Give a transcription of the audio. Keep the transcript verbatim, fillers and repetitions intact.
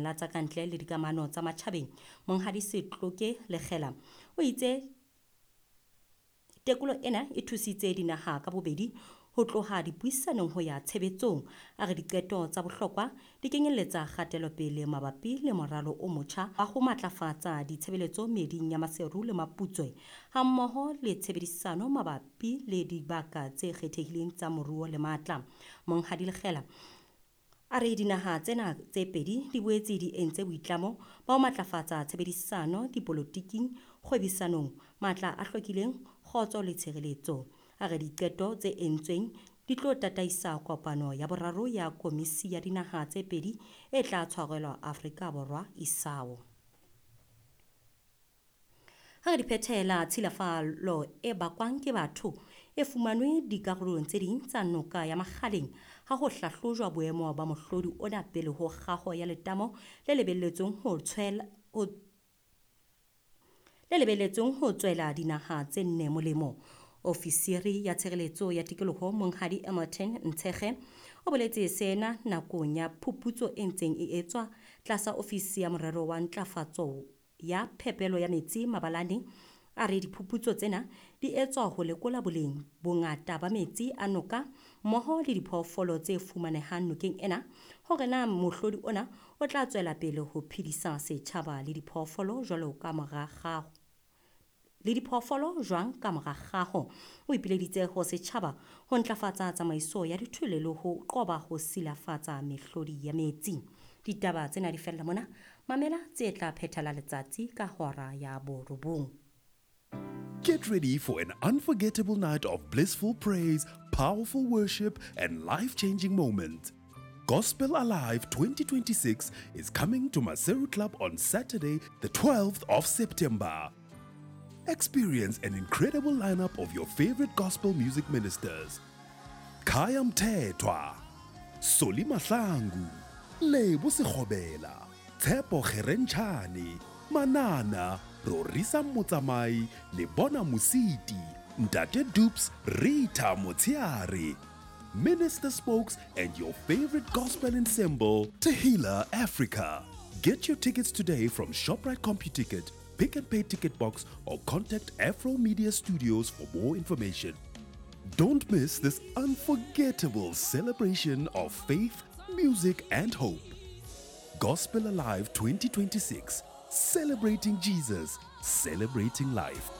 Lefapheng la tsa Kantle le Dikamano tsa Matjhabeng, Monghadi Setloke Lekgela, o itse tekolo ena e thusitse dinaha ka bobedi ho tloha dipuisanong ho ya tshebetsong. A re diqeto tsa bohlokwa di kenyelletsa kgatelopele mabapi le moralo o motjha wa ho matlafatsa ditshebeletso meeding ya Maseru le Maputswe hammoho le tshebedisano mabapi le dibaka tse kgethehileng tsa moruo le matla. Monghadi Lekgela a re dinaha tsena tse pedi di boetse di entse boitlamo ba ho matlafatsa tshebedisano dipolotiking, kgwebisanong, matla a hlwekileng, kgotso le tshireletso. A re diqeto tse entsweng di tlo tataisa kopano ya boraro ya Komisi ya Dinaha tse Pedi e tla tshwarelwa Afrika Borwa isao. Ha re di phethela, tshilafalo e bakwang ke batho e fumanwe dikarolong tse ding tsa noka ya Makgaleng ha ho hlahlojwa boemo ba mohlodi ona pele ho kgaho ya letamo le lebelletsweng ho tshwela ho le lebelletsweng ho tswela dinaha tse nne molemo. Ofisiri ya Tshireletso ya Tikoloho Monghadi Emmerton Ntshekge o boletse sena nakong ya phuputso e ntseng e etswa tlasa ofisi ya morero wa ntlafatso ya phepelo ya metsi Mabalane. A re diphuputso tsena di etswa ho lekola boleng bongata ba metsi a noka mmoho le diphoofolo tse fumanehang nokeng ena, hore na mohlodi ona o tla tswela pele ho phedisa setjhaba le diphoofolo jwalo ka mora kgaho le diphoofolo jwang ka mora kgaho. O ipileditse ho setjhaba ho ntlafatsa tsamaiso ya dithole le ho qoba ho silafatsa mehlodi ya metsi. Ditaba tsena di fella mona. Mamela tse tla phethela letsatsi ka hora ya borobong. Get ready for an unforgettable night of blissful praise, powerful worship, and life-changing moments. Gospel Alive twenty twenty-six is coming to Maseru Club on Saturday, the twelfth of September. Experience an incredible lineup of your favorite gospel music ministers. Khaya Mthethwa, Solly Mahlangu, Lebo Sekgobela, Tshepo Kgerentshane, Manana, Rorisa Motsamai, Lebona Mositi, Ntate Dupes, Rita Motsiare, Minister Spokes, and your favorite gospel ensemble, Tehila Africa. Get your tickets today from ShopRite CompuTicket, Pick and Pay Ticket Box, or contact Afro Media Studios for more information. Don't miss this unforgettable celebration of faith, music, and hope. Gospel Alive twenty twenty-six, celebrating Jesus, celebrating life.